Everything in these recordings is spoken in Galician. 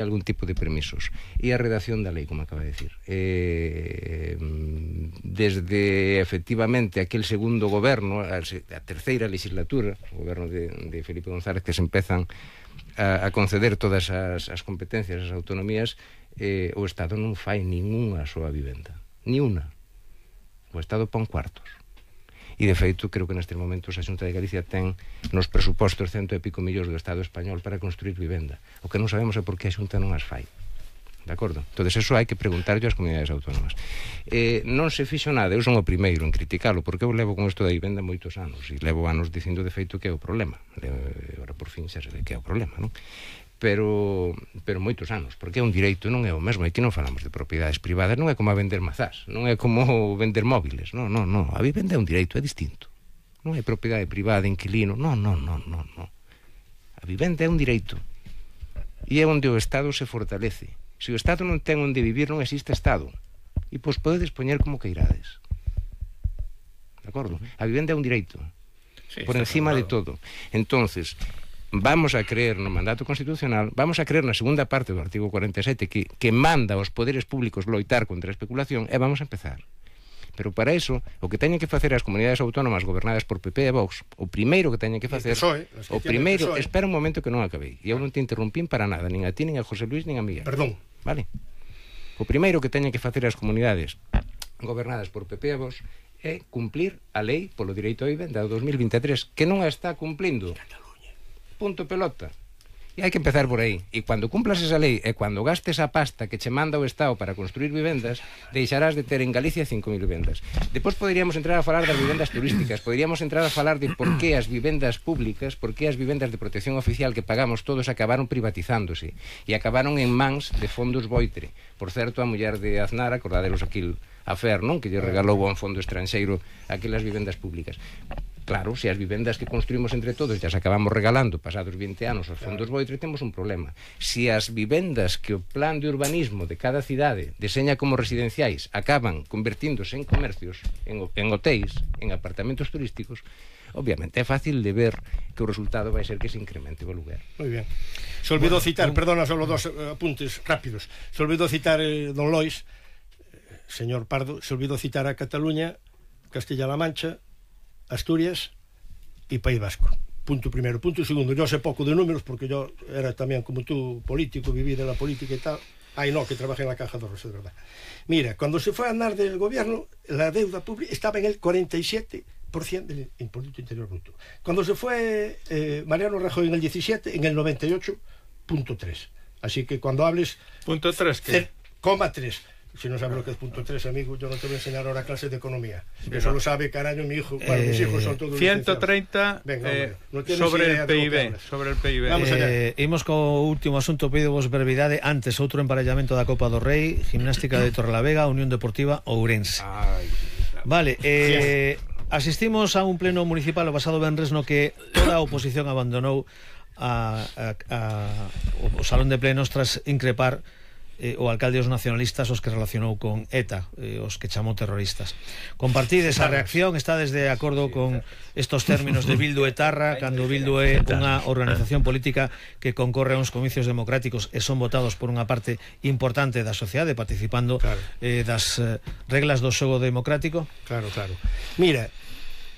algún tipo de permisos. E a redacción da lei, como acaba de decir. Desde, efectivamente, aquel segundo goberno, a terceira legislatura, o goberno de Felipe González, que se empezan a conceder todas as competencias, as autonomías, o Estado non fai ninguna soa vivenda. Ni unha. O Estado pon cuartos. E, de feito, creo que nestes momentos a Xunta de Galicia ten nos presupostos 100 e pico millóns do Estado español para construir vivenda. O que non sabemos é por que a Xunta non as fai. De acordo? Entón, eso hai que preguntarlle ás comunidades autónomas. Non se fixo nada, eu son o primeiro en criticalo, porque eu levo con isto da vivenda moitos anos, e levo anos dicindo de feito que é o problema. Agora, por fin, xa se ve que é o problema, non? Pero moitos anos, porque é un direito, non é o mesmo. Aquí non falamos de propiedades privadas, non é como a vender mazás, non é como vender móviles, non, a vivenda é un direito, é distinto. Non é propiedade privada, inquilino, non. A vivenda é un direito, e é onde o Estado se fortalece. Se o Estado non ten onde vivir, non existe Estado, e pois podedes poñer como queirades, de acordo? A vivenda é un direito, por encima de todo. Entonces, vamos a creer no mandato constitucional, vamos a creer na segunda parte do artigo 47 que manda aos poderes públicos loitar contra a especulación, e vamos a empezar. Pero para iso, o que teñen que facer as comunidades autónomas gobernadas por PP e Vox, o primeiro que teñen que facer, espera un momento que non acabei, e eu non te interrumpín para nada, nin a ti, nin a José Luis, nin a Miguel. Perdón. Vale? O primeiro que teñen que facer as comunidades gobernadas por PP e Vox é cumplir a lei polo direito a vivenda do 2023, que non a está cumplindo. Punto pelota. E hai que empezar por aí. E cando cumplas esa lei e cando gastes a pasta que che manda o Estado para construir vivendas, deixarás de ter en Galicia 5.000 vivendas. Depois poderíamos entrar a falar das vivendas turísticas, poderíamos entrar a falar de por que as vivendas públicas, por que as vivendas de protección oficial que pagamos todos acabaron privatizándose e acabaron en mans de fondos Boitre. Por certo, a muller de Aznar, acordaderos aquil a Fer, non? Que lle regalou a un fondo estranxeiro aquelas vivendas públicas. Claro, se as vivendas que construímos entre todos ya se acabamos regalando pasados 20 anos aos fondos Boitre, temos un problema. Se as vivendas que o plan de urbanismo de cada cidade deseña como residenciais acaban convertíndose en comercios, en hotéis, en apartamentos turísticos, obviamente é fácil de ver que o resultado vai ser que se incremente o lugar. Moi ben. Se olvidou citar, perdona, solo dos apuntes rápidos. Se olvidou citar don Lois, señor Pardo, se olvidou citar a Cataluña, Castilla-La Mancha, Asturias y País Vasco. Punto primero. Punto segundo, yo sé poco de números porque yo era también como tú político, viví de la política y tal. Ay, no, que trabajé en la Caja de Ahorros, es verdad. Mira, cuando se fue a andar del gobierno, la deuda pública estaba en el 47% del Producto Interior Bruto. Cuando se fue Mariano Rajoy en el 17, en el 98.3. Así que cuando hables... ¿Punto 3 qué? 0,3. Si no sabes lo que es punto 3, amigo, yo no te voy a enseñar ahora clases de economía. Eso lo sabe, carajo, mi hijo. Bueno, mis hijos son todos 130 no sobre el PIB. Sobre el PIB. Vamos allá. Imos co último asunto, pido vos brevidade. Antes, outro emparellamento da Copa do Rei, Gimnástica de Torrelavega, Unión Deportiva Ourense. Vale, asistimos a un pleno municipal o pasado venres no que toda a oposición abandonou o salón de plenos tras increpar o alcalde e os nacionalistas os que relacionou con ETA, os que chamou terroristas. Compartides a reacción, está desde acordo con estos términos de Bildu e Tarra, cando Bildu é unha organización política que concorre a uns comicios democráticos e son votados por unha parte importante da sociedade participando das reglas do xogo democrático. Claro. Mira,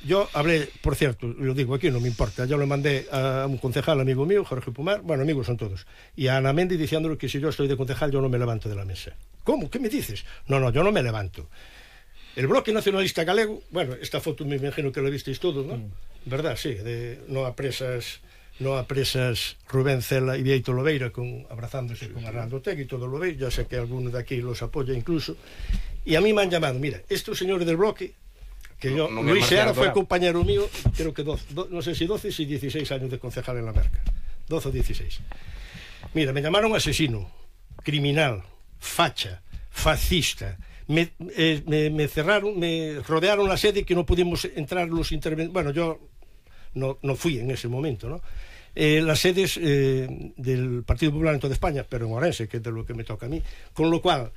yo hablé, por cierto, lo digo aquí, no me importa, yo lo mandé a un concejal amigo mío, Jorge Pumar, bueno, amigos son todos, y a Ana Mendi diciéndole que si yo estoy de concejal yo no me levanto de la mesa. ¿Cómo? ¿Qué me dices? No, yo no me levanto. El Bloque Nacionalista Galego, bueno, esta foto me imagino que la visteis todos, ¿no? ¿Verdad? Sí, de no apresas Rubén Cela y Vieito Lobeira abrazándose con Arnaldo Otegi, todo lo veis, ya sé que alguno de aquí los apoya incluso, y a mí me han llamado, mira, estos señores del Bloque, que yo, Luis Seara fue compañero mío, creo que no sé si 12 si 16 años de concejal en la Merca, 12 o 16. Mira, me llamaron asesino, criminal, facha, fascista, me cerraron, me rodearon la sede que no pudimos entrar los interventores. Bueno, yo no fui en ese momento, ¿no? Las sedes del Partido Popular en toda España, pero en Ourense, que es de lo que me toca a mí, con lo cual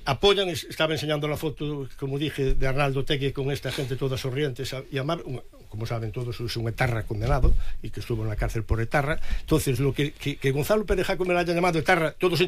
apoyan, estaba enseñando la foto, como dije, de Arnaldo Otegi con esta gente toda sonriente y amable, un como saben todos, es un etarra condenado y que estuvo en la cárcel por etarra. Entonces, lo que Gonzalo Pérez Jaco me lo haya llamado etarra, todos